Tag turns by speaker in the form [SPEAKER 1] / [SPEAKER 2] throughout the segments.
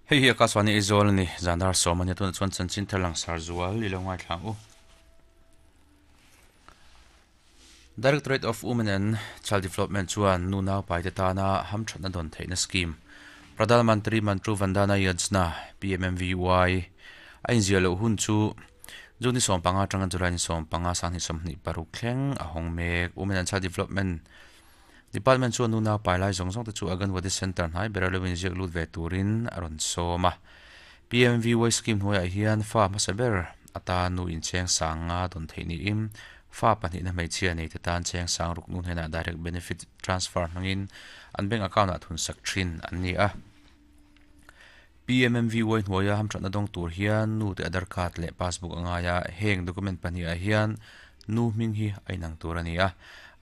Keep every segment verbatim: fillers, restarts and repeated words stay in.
[SPEAKER 1] Hei hi Akashvani Aizawl ani zandar sawm ania tunah chuan chanchin thar langsar zual i lo ngaithla ang u. Directorate of Women and Child Development chuan nu nau pai te tana hamthatna dawn theihna scheme Pradhan Mantri Matru Vandana Yojana P M M V Y a inziah loh hun chu June ni sawm panga atanga July ni sawm panga sanghnih sawmhnih paruk thleng a hawng mek. Women and Child Development Department chuan nu nau pai lai zawng zawng te chu Anganwadi Center hnai ber a lo inziak lut ve turin a rawn sawm a. P M V Y scheme hnuaiah hian fa hmasa ber atan nu incheng sang nga dawn theih niin fa pahnih na hmeichhia nei te tan cheng sang ruk nu hnenah direct benefit transfer hmangin an bank account ah thun sak thin an ni a. P M M V Y hnuaia hamthatna dawng tur hian nu te Aadhaar card leh passbook angaia heng document pahnih ah hian nu hming hi a inang tur ani a.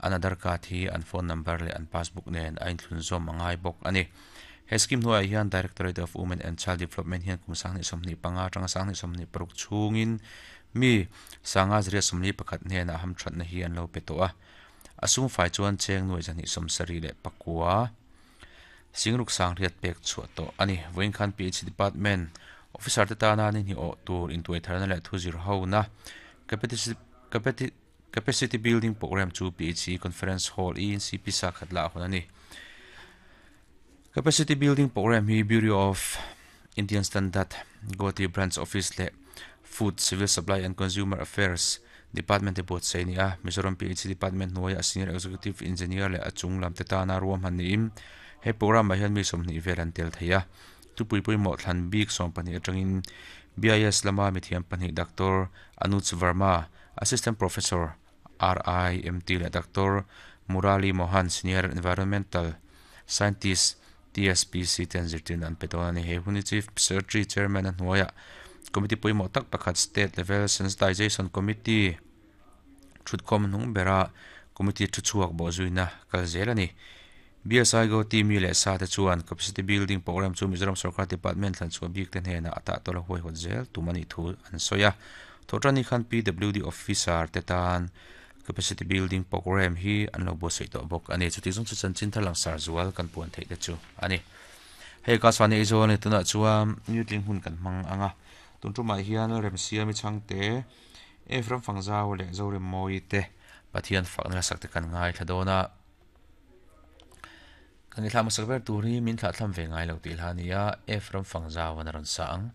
[SPEAKER 1] An Aadhaar card hi an phone number leh an passbook nen a inthlun zawm angai bawk ani. He scheme hnuaiah hian Directorate of Women and Child Development hian kum sanghnih sawmhnih panga atanga sanghnih sawmhnih paruk chhungin mi sanga zariat sawmli pakhat hnenah hamthatna hi an lo pe tawh a. A sum fai chuan cheng nuai zahnih sawm sarih leh pakua singruk sang riat pek chhuah tawh ani. Vawiin khan P H Department officer te tana ni hnih awh tur intuai tharna leh thu zir ho na capacity capacity building program chu P H C Conference Hall E N C P sa khat lah hun ani. Capacity building program hi Bureau of Indian Standard Guwahati Branch Office leh Food, Civil Supply and Consumer Affairs Department te buatsaih ani a. Mizoram P H C Department hnuaiah Senior Executive Engineer leh a chung lam te tana ruam han niin he program ah hian mi sawmhnih vel an tel thei a. Thupui pawimawh thlan bik sawm pahnih atangin B I S lama mithiam pahnih Doctor Anuj Verma, Assistant Professor R I M T leh Doctor Murali Mohan, Senior Environmental Scientist T S P C ten zirtirna an pe dawn ani. He huni Chief Secretary Chairman a hnuaiah Committee pawimawh tak pakhat State Level Sensitization Committee thutkhawm hnung bera Committee thu chhuak bawh zuina kal zel ani. B S I Guwahati mi leh sa te chuan Capacity Building Program chu Mizoram Sarkar Department thlan chhuah bik te hnenah a tah tawla huai hawt zel tum ani thu an sawi a. Thawhṭan ni khan P W D Officer te tan Capacity Building Program hi an lo buatsaih tawh bawk ani. Chuti zawng chu chanchin thar langsar zual kan puan theih te chu ani. Hei Akashvani Aizawl ani tunah chuan newtling hun kan hmang anga. Tun tumah hian remsiami changte Ephraim Fangzau leh Zorem Mawi te Pathian fakna sak te kan ngai thla dawn a. Kan i thla hmasak ber tur hi min thlah thlam ve ngai lo tih hla ania Ephraim Fangzau an a rawn sa ang.